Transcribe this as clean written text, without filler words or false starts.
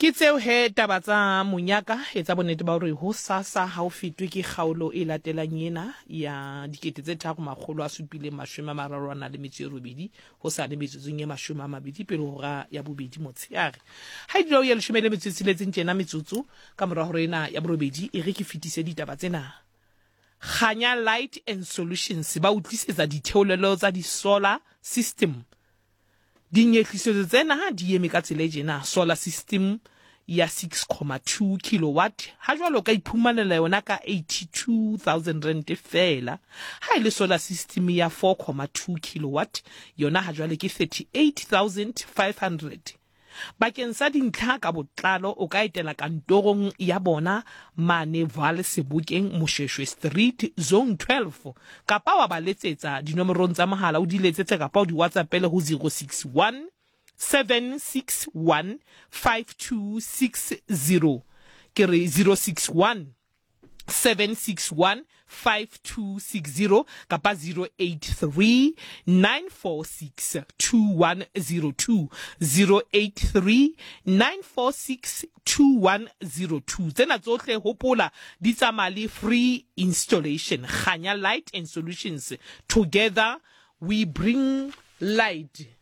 Ke tseo he taba tsa monyaka. Etsa bonnete ba hore hosasa ha o fetwe ke kgaolo e latelang ena ya 3738 hosane metsotsong e 20 pele ho hora ya bobedi motsheare. Ha e dula o ya leshome le metso e tsheletseng tjena metsotso ka mora hora ena ya borobedi, e re ke fetise ditaba tsena. Kganya Light and Solutions ba o tlisetsa ditheolelo tsa di-solar system. Dinyehlisetso tsena di eme ka tsela e tjena, solar system ya 6,2 kilowatt ha jwale o ka iphumanela yona ka R82,000 feela. Ha e le solar system ya 4,2 kilowatt yona ha jwale ke 38,500. Bakeng sa dintlha ka botlalo o ka etela kantorong ya bona mane Vaal Sebokeng, Moshweshwe Street, Zone 12, kapa wa ba letsetsa dinomorong tsa mohala o di letsetse kapa o di WhatsAppele ho 061 761 5260. Ke re 061 761 5260 kapa 083 946 2102, 083 946 2102. Tsena tsohle hopola di tsamaya le free installation. Kganya Light and Solutions, together we bring light.